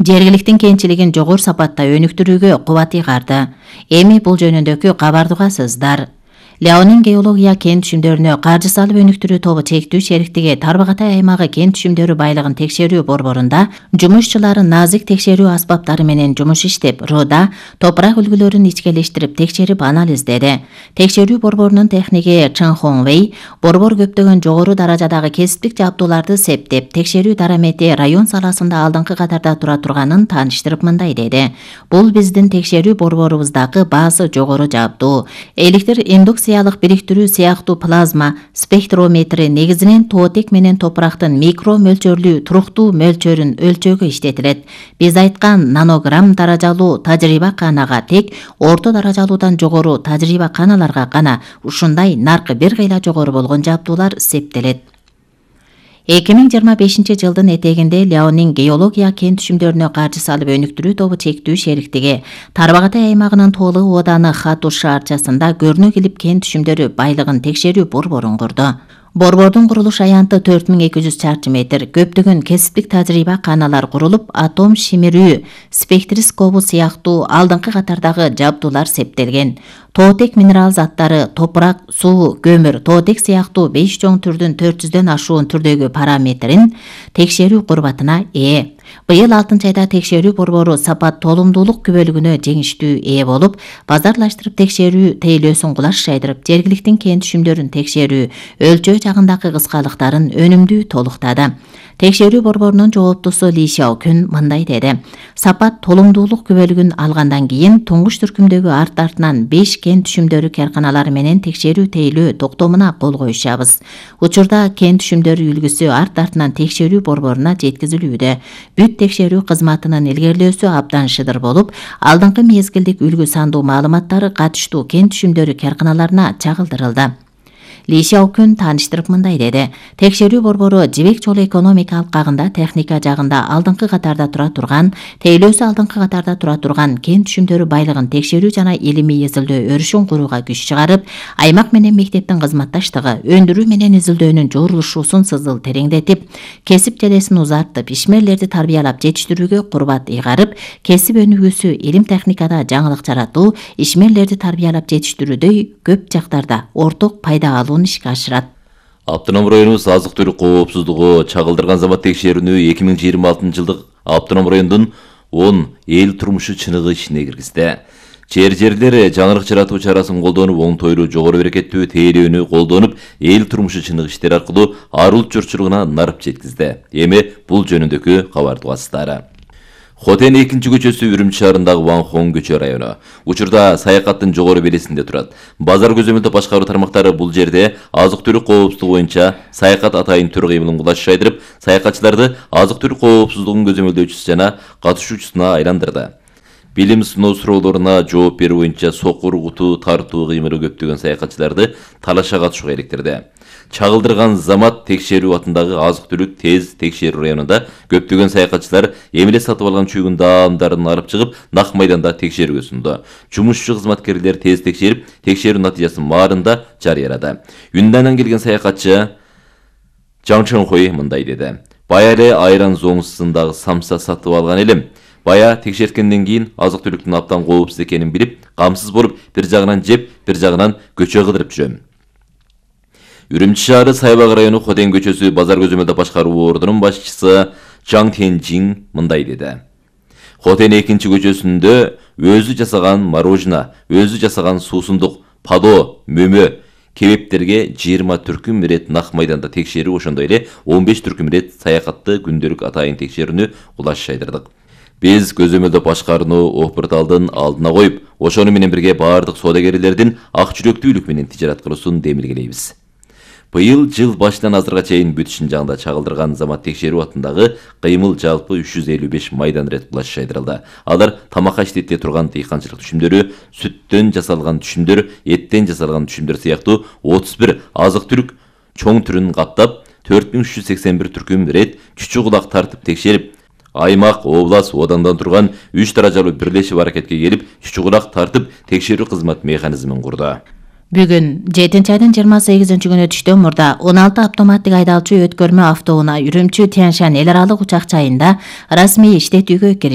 жергиликтин кенчилигин жогору сапатта өнүктүрүүгө кубат ыйгарды. Эми бул жөнүндөгү кабарды угасыздар. Леонин геология кен түшүмдөрүнө каржы салып өнүктүрүү тобу чектүү шериктиги Тарбагатай аймагы кен түшүмдөрү байлыгын текшерүү борборунда жумушчулары назик текшерүү аспаптары менен жумуш иштеп, руда топурак үлгүлөрүн ичкелештирип текшерип анализдеди. Текшерүү борборунун техниги Чын Хоңвей борбор көптөгөн жогору даражадагы кесиптик жабдууларды септеп, текшерүү дарамети район саласында алдыңкы катарда тура турганын тааныштырып мындай деди. Бул биздин текшерүү борборубуздагы баасы жогору жабдуу. Электр индукциялык бириктирүү сыяктуу плазма спектрометри негизинен тоотек менен топурактын микро мөлчөрлүү туруктуу мөлчөрүн өлчөөгө иштетилет. Биз айткан нанограмм даражалуу тажрыйба канага тек орто даражалуудан жогору тажрыйба каналарга гана ушундай наркы бир кыйла жогору болгон жабдуулар септелет. 2025 жылдын этегинде Леонин геология кен түшүмдөрүнө каржы салып өнүктүрүү тобу чектүү шериктиги Тарбагатай аймагынын Тоолы ооданы Хатуш шаарчасында көрүнө келип кен түшүмдөрү байлыгын текшерүү борборун курду. Борбордун курулуш аянты 4200 чарчы метр, көптөгөн кесиптик тажрыйба каналар курулуп, атом шимирүү спектроскопу сыяктуу алдыңкы катардагы жабдуулар септелген. Тоотек минерал заттары, топурак, суу, көмүр, тоотек сыяктуу 5 чоң түрдүн 400дөн ашуун түрдөгү параметрин текшерүү курбатына ээ. Быйыл 6-айда текшерүү борбору сапат толумдуулук күбөлүгүнө жеңиштүү ээ болуп, базарлаштырып текшерүү тейлөөсүн кулаш жайдырып, жергиликтин кен түшүмдөрүн текшерүү, өлчөө жагындагы кыскалыктарын өнүмдүү толуктады. Текшерүү борборунун жооптусу Ли Шаокүн мындай деди. Сапат толумдуулук күбөлүгүн алгандан кийин туңгуч түркүмдөгү арт-артынан 5 кен түшүмдөрү карканалары менен текшерүү тейлөө токтомуна кол коюшабыз. Учурда кен түшүмдөрү үлгүсү арт-артынан текшерүү борборуна жеткизилүүдө. Бүт текшерүү кызматынын илгерилөөсү абдан шыдыр болуп, алдыңкы мезгилдик үлгү сандуу маалыматтары катыштуу кен түшүмдөрү карканаларына чагылдырылды. Ли Шаокүн тааныштырып мындай деди. Текшерүү борбору жибек жолу экономика алкагында техника жагында алдыңкы катарда тура турган, тейлөөсү алдыңкы катарда тура турган кен түшүмдөрү байлыгын текшерүү жана илимий изилдөө өрүшүн курууга күч чыгарып, аймак менен мектептин кызматташтыгы, өндүрүү менен изилдөөнүн жорулушуусун сызыл тереңдетип, кесип желесин узартып, ишмерлерди тарбиялап жетиштирүүгө курбат ыйгарып, кесип өнүгүүсү, илим техникада жаңылык жаратуу, ишмерлерди тарбиялап жетиштирүүдөй көп жактарда орток пайда алуу ишке ашырат. Автоном районубуз азык-түлүк коопсуздугу чагылдырган замат текшерүүнү 2026 жылдык автоном райондун 10 эл турмушу чыныгы ишине киргизди. Жерлер жаңылык жаратуу чарасын колдонуп, оңтойлуу жогору берекеттүү тейлөөнү колдонуп, эл турмушу чыныгы иштери аркылуу ар улут журтчулугуна нарып жеткизди. Эми бул жөнүндөгү кабарды угасыздар. Хотен 2-көчөсү Үрүмчү шаарындагы Ванхон көчө району. Учурда саякаттын жогору белесинде турат. Базар көзөмөлдөө башкаруу тармактары бул жерде азык-түлүк коопсуздугу боюнча саякат атайын түр кыймылын кулаш жайдырып, саякатчыларды азык-түлүк коопсуздугун көзөмөлдөөчүсү жана катышуучусуна айландырды. Билим сыноо суроолоруна жооп берүү боюнча сокур, куту, тартуу кыймылы көптөгөн саякатчыларды талашка катышууга иликтирди. Чагылдырган замат текшерүү атындагы азык-түлүк тез текшерүү районунда көптөгөн саякатчылар эмеле сатып алган чүйгүн даамдарын алып чыгып, нак майданда текшерүүгө сунду. Жумушчу кызматкерлер тез текшерип, текшерүү натыйжасын маарында жарыялады. Юндандан келген саякатчы Чан Чонхой мындай деди. Бая эле айран зоңусундагы самса сатып алган элем. Бая текшерткенден кийин азык-түлүктүн абдан коопсуз экенин билип, камсыз болуп, бир жагынан жеп, бир жагынан көчө кыдырып жүрөм. Үрүмчү шаары Сайбак району Хотен көчөсү базар көзөмөлдөө башкаруу ордунун башчысы Чаң Тенжин мындай деди. Хотен 2-көчөсүндө өзү жасаган морожено, өзү жасаган суусундук, падо, мөмө, кебептерге 20 түркүм ирет нак майданда текшерүү, ошондой эле 15 түркүм ирет саякатты күндөлүк атайын текшерүүнү кулаш жайдырдык. Биз көзөмөлдөө башкарууну Опурталдын алдына коюп, ошону менен бирге баардык соодагерлердин ак жүрөктүүлүк менен тижарат кылуусун демилгелейбиз. Быйыл жыл башынан азырга чейин бүт Шынжаңда чагылдырган замат текшерүү атындагы кыймыл жалпы 355 майдан ирет кулаш жайдырылды. Алар тамакка иштете турган дыйканчылык түшүмдөрү, сүттөн жасалган түшүмдөр, эттен жасалган түшүмдөр сыяктуу 31 азык-түлүк чоң түрүн каттап, 4381 түркүм ирет чүчү кулак тартып текшерип, аймак, облас, одандан турган 3 даражалуу бирлешип аракетке келип, чүчү кулак тартып текшерүү кызмат механизмин курду. Бүгүн 7-айдын 28-күнү түштөн мурда 16 автоматтык айдалчу өткөрмө автоунаа Үрүмчү Тянь Шань эл аралык учак жайында расмий иштетүүгө киришти.